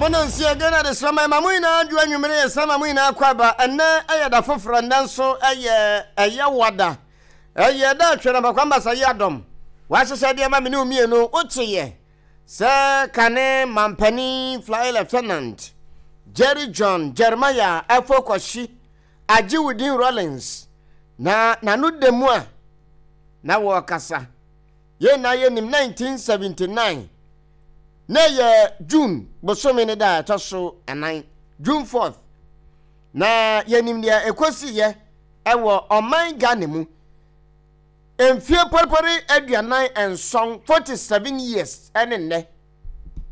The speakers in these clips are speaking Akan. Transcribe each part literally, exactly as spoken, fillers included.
Ɛbɔ no nsia Ghana de srama ma mo nyinaa adwo anwummere yɛ srama mo nyinaa kɔ aba. Ɛnnɛ ɛyɛ da foforɔ, nnɛ nso ɛyɛ ɛyɛ wada. Ɛyɛ da atwere mpakwamba sa yi adɔm. Wahyehyɛ deɛ ma me ne wo mmienu wokyeyɛ sɛ kane mampanin Flight Lieutenant Jerry John Jeremiah Efo Kwasi agye wo din Rawlings na n'ano da mu a na wɔrekasa. Yɛn na yɛnim nineteen seventy-nine na ɛyɛ June bosome ne da a ɛtɔ so ɛnan, June fourth, na yɛnim deɛ ɛkɔsiiɛ ɛwɔ ɔman Ghana mu mfie pɔrepɔre aduanan nson, forty-seven years. Ɛne nnɛ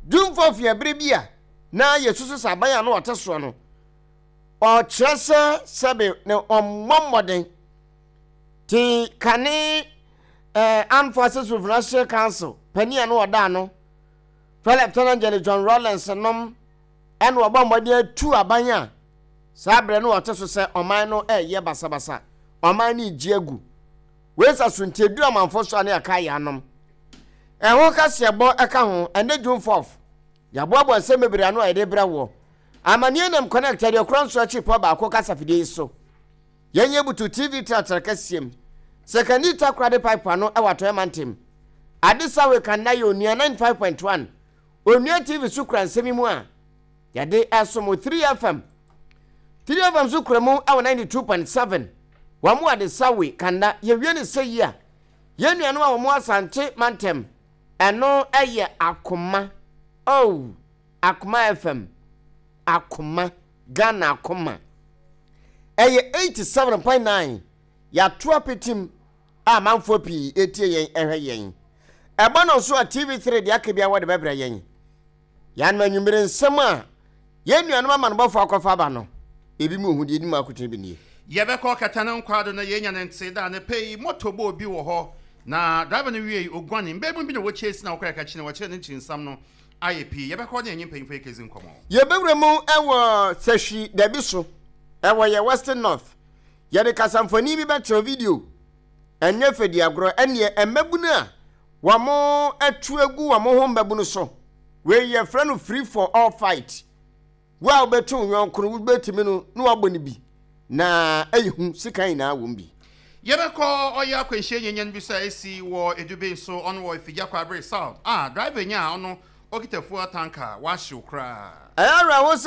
June fourth yɛ bere bi a na yɛsusu sɛ aban a na ɔte soɔ no ɔkyerɛ sɛ sɛbe ne ɔmmɔ mmɔden te kane eh, Armed Forces Revolutionary Council panin a no ɔda ano, Lieutenant General John Rawlings nom, ɛna ɔbɔ mmɔden atu aban a saa berɛ no ɔte so sɛ ɔman no ɛyɛ basabasa, ɔman no regye agu. Wei sa so nti eduru amanfo so a ne yɛka yɛ anom ɛho kaseɛbɔ ɛka ho. Ɛnɛ June fourth yɛaboaboa nsɛm bebree ano a yɛde brɛ wɔ amanneɛ nam Connect aduokora nso akyi pɔ baako kasafidie yi so. Yɛnyɛ butu T V tratra kɛseɛm sɛkani Takorade pipe ano ɛwɔ Atɔeɛ Mantam Adesawe Kanda yɛ Onua ninety-five point one Onua T V so kura nsɛm yi mu a yɛde ɛsom three F M, three F M so kura mu ɛwɔ ninety-two point seven wɔn mu Adesawe Kanda. Yɛwie ne sɛ yi a yɛn nuanom a wɔn Asante Mantam ɛno ɛyɛ Akoma, oh, Akoma F M, Akoma Ghana, Akoma ɛyɛ eighty-seven point nine. Yɛato apetim a amanfoɔ pii etie yɛn ɛhwɛ yɛn. Ɛbɔ no nso a T V three deɛ aka bi a wɔde bɛbrɛ yɛn. Yɛanom anwummere nsɛm a yɛn nuanom amanobɔfoɔ akɔfa aba no ebi mu ohu deɛ edi mu akotene bi nie. Yɛbɛkɔ kɛtɛ no nkwado na yɛnya ne nte da ne pɛ yi moto bɔ obi wɔ hɔ na driver no wie oguane mbɛɛmu bi na wɔkyɛ si na wɔkɔ yɛka kyi na wɔkyerɛ ne nkyinsam no ayɛ pii. Yɛbɛkɔ ne yɛnye mpanyimfo yɛkɛzi nkɔmmɔ. Yɛbɛwura mu ɛwɔ Sɛhwi dabi so ɛwɔ yɛ Western North. Yɛde kasamfoni bi bɛkyerɛ video ɛnyɛ fɛdi agorɔ ɛneɛ mmabunu a wɔn atu agu wɔn ho mmabunu so. Wei yɛfrɛ no free for all fight. Wo a wobɛto wo yɔnko no wobɛtumi no na wabɔ no bi na ɛyɛ hu sika nyinaa wɔ mu bi. Yɛbɛkɔ ɔyɛ akwanhyia nyanyan bi so a ɛsi wɔ Edube nso ɔno wɔ Afigya Kwabre South a driver nya a ɔno ɔkita fuel tanker wahyew koraa. Ɛyɛ awerɛho sɛ